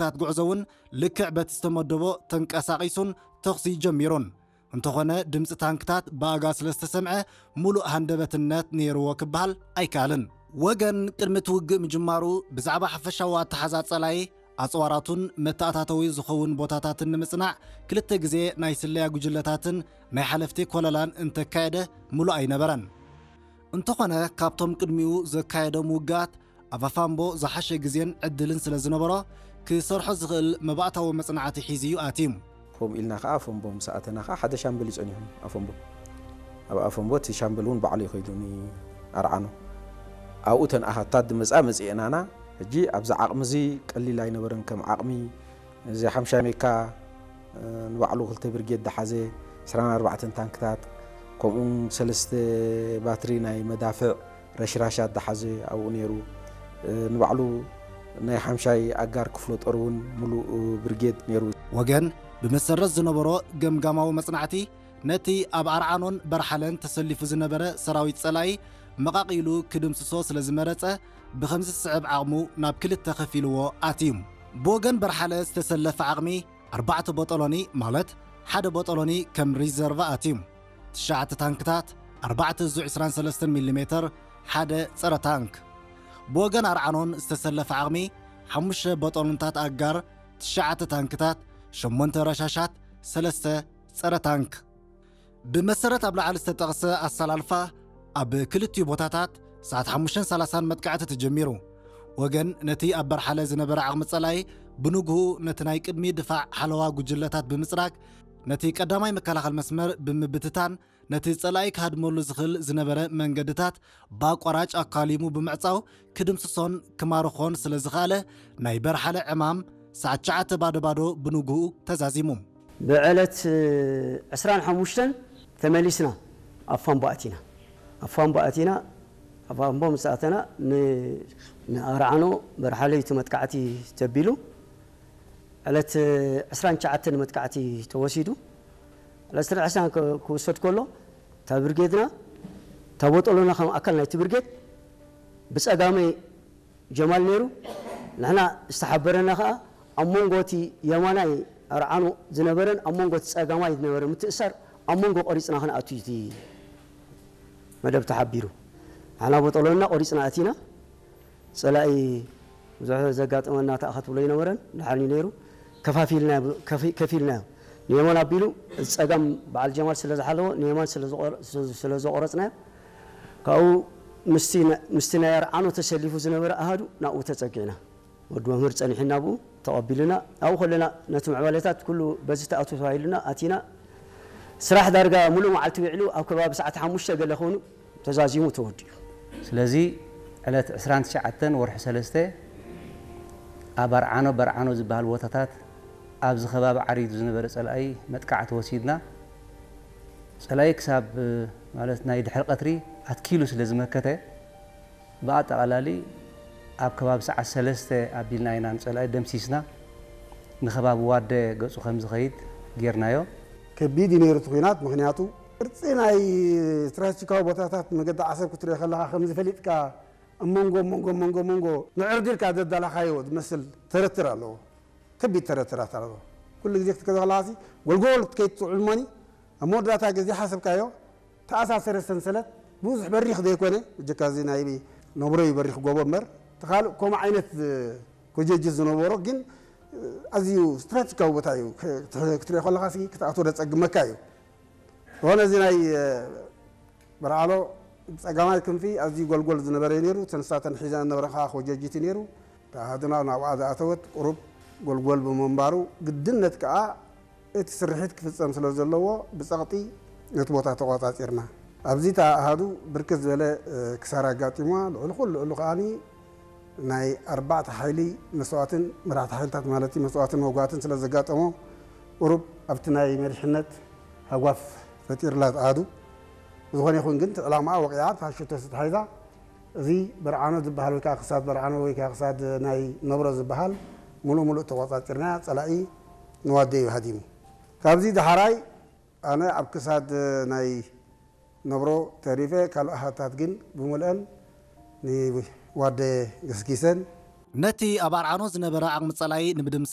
ታንክታት ጉዕዞ እውን ልክዕ በቲ ዝተመደቦ ተንቀሳቒሱን ተኹሲ ጀሚሩን። እንተኾነ ድምፂ ታንክታት ብኣጋ ስለ ዝተሰምዐ ሙሉእ ሃንደበትነት ነይርዎ ክበሃል ኣይከኣልን። ወገን ቅድሚ እቲ ውግእ ምጅማሩ ብዛዕባ ሓፈሻዊ ኣተሓዛ ጸላኢ ኣጽዋራቱን መተኣታተዊ ዝኸውን ቦታታትን ንምጽናዕ ክልተ ግዜ ናይ ስለያ ጉጅለታትን ናይ ሓለፍቲ ኮለላን እንተካየደ ምሉእ ኣይነበረን። እንተኾነ ካብቶም ቅድሚኡ ዘካየዶም ውግኣት ኣብ ኣፋምቦ ዝሓሸ ግዜን ዕድልን ስለ ዝነበሮ ክሰርሖ ዝኽእል መባእታዊ መጽናዕቲ ሒዙ እዩ ኣትዩ። ከምኡ ኢልና ከዓ ኣፈምቦ ምስ ኣተና ከዓ ሓደ ሻምበል እዩ ጸኒሑ ኣፈምቦ። ኣብ ኣፈምቦ እቲ ሻምበል እውን ባዕሉ እዩ ከይዱ ንኣርዓኖ። ኣብኡ ተን ኣሃታት ድመጻ መጺኤናና። ሕጂ ኣብዚ ዓቕሚ እዚ ቀሊል ኣይነበረን። ከም ዓቕሚ እዚ ሓምሻይ ሜካ ንባዕሉ ክልተ ብርጌድ ድሓዘ፣ ዕስራን ኣርባዕተን ታንክታት፣ ከምኡ እውን ሰለስተ ባትሪ ናይ መዳፍዕ ረሽራሻት ድሓዘ ኣብኡ ነይሩ። ንባዕሉ ናይ ሓምሻይ ኣጋር ክፍለ ጦር እውን ሙሉእ ብርጌድ ነይሩ። ወገን ብመሰረት ዝነበሮ ገምጋማዊ መጽናዕቲ ነቲ ኣብ ኣርዓኖን በርሓለን ተሰሊፉ ዝነበረ ሰራዊት ጸላኢ መቓቒሉ ክድምስሶ ስለ ዝመረጸ ብኸምዚ ዝስዕብ ዓቕሙ ናብ ክልተ ከፊልዎ ኣትዩ። ብወገን በርሓለ ዝተሰለፈ ዓቕሚ ኣርባዕተ ቦጦሎኒ ማለት ሓደ ቦጦሎኒ ከም ሪዘርቭ ኣትዩ። ትሽዓተ ታንክታት፣ ኣርባዕተ ዙ ዕስራን ሰለስተን ሚሊ ሜተር፣ ሓደ ጸረ ታንክ። ብወገን ኣርዓኖን ዝተሰለፈ ዓቕሚ ሓሙሽተ ቦጦሎንታት ኣጋር፣ ትሽዓተ ታንክታት፣ ሸሞንተ ረሻሻት፣ ሰለስተ ጸረ ታንክ። ብመሰረት ኣብ ላዕሊ ዝተጠቕሰ ኣሰላልፋ ኣብ ክልቲኡ ቦታታት ሰዓት ሓሙሽተን ሰላሳን መጥቃዕቲ ተጀሚሩ። ወገን ነቲ ኣብ በርሓለ ዝነበረ ዓቕሚ ጸላኢ ብንግሁ ነቲ ናይ ቅድሚ ድፋዕ ሓለዋ ጉጅለታት ብምጽራግ ነቲ ቀዳማይ መከላኸል መስመር ብምብትታን ነቲ ጸላኢ ክሃድመሉ ዝኽእል ዝነበረ መንገድታት ብኣቋራጭ ኣካሊሙ ብምዕጻው ክድምስሶን ክማርኾን ስለ ዝኸኣለ ናይ በርሓለ ዕማም ሰዓት ትሽዓተ ባዶ ባዶ ብንግሁ ተዛዚሙ። ብዕለት ዕስራን ሓሙሽተን ተመሊስና ኣብ ፋምቦ ኣቲና። ኣብ ፋምቦ ኣቲና፣ ኣብ ፋምቦ ምስ ኣተና ን-፣ ንኣርዓኖ በርሓለዩ እቲ መጥቃዕቲ ተቢሉ። ዕለት ዕስራን ትሽዓተን መጥቃዕቲ ተወሲዱ። ዕለት ዕስራን ትሽዓተን ክ-፣ ክውሰድ ከሎ እታ ብርጌድና፣ እታ ቦጦሎና ከም ኣካል ናይቲ ብርጌድ ብጸጋመይ ጀማል ነይሩ። ንሕና ዝተሓበረና ኸኣ ኣብ መንጎ እቲ የማናይ ኣርዓኖ ዝነበረን ኣብ መንጎ እቲ ጸጋማይ ዝነበረ ምትእሳር ኣብ መንጎ ቆሪጽና ክንኣቱ እዩ እቲ መደብ ተሓቢሩ። ንሕና ቦጦሎና ቆሪጽና ኣቲና። ጸላኢ ብዙሕ ዘጋጠመና ተኣኸትብሎ ኣይነበረን። ደሓን እዩ ነይሩ። ከፋፊልና፣ ከፊ-፣ ከፊልናዮ። ንየማን ኣቢሉ፣ ጸጋም በዓል ጀማል ስለ ዝሓለዎ፣ ንየማን ስለ ዝቖረ-፣ ስለ፣ ስለ ዘቖረጽናዮ፣ ካብኡ ምስቲ ና-፣ ምስቲ ናይ ኣርዓኖ ተሰሊፉ ዝነበረ ኣሃዱ ናብኡ ተጸጊዕና። ወዲ መምህር ጸኒሑና ብኡ ተቐቢሉና። ኣብኡ ከለና ነቲ ምዕባለታት ኩሉ በዚ ተኣቱ ተባሂሉና ኣቲና። ስራሕ ዳርጋ ሙሉእ መዓልቲ ውዒሉ ኣብ ከባቢ ሰዓት ሓሙሽተ ገለ ኮይኑ ተዛዚሙ ተወዲኡ። ስለዚ ዕለት ዕስራን ትሽዓተን ወርሒ ሰለስተ ኣብ ኣርዓኖ በርዓኖ ዝበሃል ቦታታት ኣብዚ ከባቢ ዓሪዱ ዝነበረ ጸላኢ መጥቃዕቲ ወሲድና። ጸላኢ ክሳብ ማለት ናይ ድሕሪ ቀትሪ ኣትኪሉ ስለ ዝመከተ ብኣጠቓላሊ ኣብ ከባቢ ሰዓት ሰለስተ ኣቢልና ኢና ንጸላኢ ደምሲስና። ንከባቢ ዋደ ገጹ ከም ዝኸይድ ጌርናዮ። ከቢድ እዩ ነይሩ እቲ ኲናት። ምኽንያቱ ቅርጺ ናይ ስትራቴጂካዊ ቦታታት መገዲ ዓሰብ ክትሪኦ ከለኻ ከምዚ ፈሊጥካ ኣብ መንጎ፣ መንጎ፣ መንጎ፣ መንጎ ንዕርዲ ኢልካ ዘዳለኻዮ ዝመስል ተረትር ኣለዎ። ከቢድ ተረትራት ኣለዎ። ኩሉ ግዜ ክትከዶ ከለኻሲ ጎልጎል ክትከይድ ትውዕል እሞኒ ኣብ መወዳእታ ግዜ ሓሰብካዮ ተኣሳሰረ ሰንሰለት ብዙሕ በሪኽ ዘይኮነ፣ እጀካ እዚ ናይ ነብሮ እዩ በሪኽ ጎቦ እምበር፣ እቲ ካልእ ከምኡ ዓይነት ኮጀጅ ዝነበሮ ግን ኣዝዩ ስትራቴጂካዊ ቦታ እዩ። ክት-፣ ክትሪኦ ከለኻ ሲ ክትኣትዎ ደጸግመካ እዩ። ዝኾነ እዚ ናይ በርዓሎ ጸጋማይ ክንፊ ኣዝዩ ጎልጎል ዝነበረ እዩ ነይሩ። እተን ንሳተን ሒዘን ዝነበረ ከዓ ኮጀጅት እዩ ነይሩ። ተኣሃዱና ናብኣ ዝኣተወት ቁሩብ ጎልጎል ብምንባሩ ግድነት ከዓ እቲ ስርሒት ክፍጸም ስለ ዘለዎ ብጸቕጢ ነቲ ቦታ ተቖጻጺርና። ኣብዚ እታ ኣሃዱ ብርክት ዝበለ፣ እ፣ ክሳራ ኣጋጢምዋ። ልዕሊ ኩሉ፣ ልዕሊ ከኣኒ ናይ ኣርባዕተ ሓይሊ መስዋእትን መራሕቲ ሓይልታት ማለት እዩ መስዋእትን መጓትን ስለ ዘጋጠሞ ቁሩብ ኣብቲ ናይ መሪሕነት ሃጓፍ ፈጢርላ እታ ኣሃዱ። ዝኾነ ይኹን ግን እቲ ዕላማኣ ወቒዓ፣ እታ ሽቶ ተታሒዛ እዚ በርዓኖ ዝበሃል ወይ ከዓ ክሳድ በርዓኖ ወይ ከዓ ክሳድ ናይ ነብሮ ዝበሃል ሙሉእ ሙሉእ ተቆጻጺርና ጸላኢ ንዋደይ እዩ ሃዲሙ። ካብዚ ዳሕራይ ኣነ ኣብ ክሳድ ናይ ነብሮ ተሪፈ፣ ካልእ ኣሃታት ግን ብምልአን ንዋደ ገስጊሰን። ነቲ ኣብ ኣርዓኖ ዝነበረ ዓቕሚ ጸላኢ ንምድምሳስ